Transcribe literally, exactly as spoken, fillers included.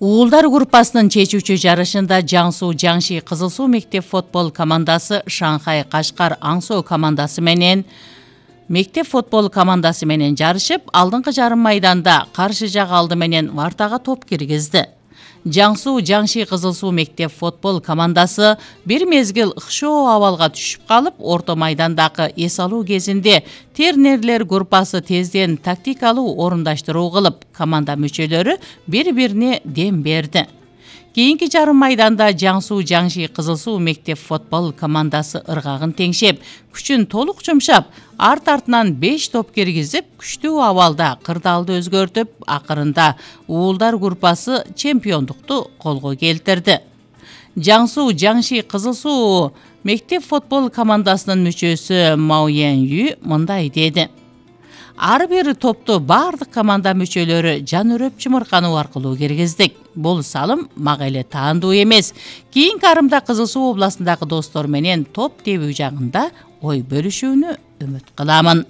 Уулдар группасынын чечүүчү жарышында Жаңсу Жаңши Кызыл Суу мектеп футбол командасы Шанхай Кашкар Аңсоо командасы менен мектеп футбол командасы менен жарышып, алдыңкы жарым майданда каршы жак алды менен вартага топ киргизди. Жаңсу Жаңши Кызыл Суу мектеп футбол командасы бир мезгил ыкшоо абалга түшүп калып, орто майдандагы эс алуу кезинде Тернерлер группасы тезден тактикалуу орундаштыруу кылып, команда мүчөлөрү бири-бирине дем берди. Кийинки жарым майданда Жаңсу Жаңши Кызыл Суу мектеп футбол командасы ыргагын теңшеп, күчүн толук жумшап, арт-артынан беш топ киргизип, күчтүү абалда кырдаалды өзгөртүп, акырында уулдар группасы чемпиондукту колго келтирди. Жаңсу Жаңши Кызыл Суу мектеп футбол командасынын мүчөсү Мао Ян Ю мындай деди: Ар бир топту бардык команда мүчөлөрү жан өрөп чымыркануу аркылуу киргиздик. Бул салым мага эле таандуу эмес. Кийинки арымда Кызыл Суу областындагы достор менен топ тебүү жагында ой бөлүшүүнү үмүт кыламын.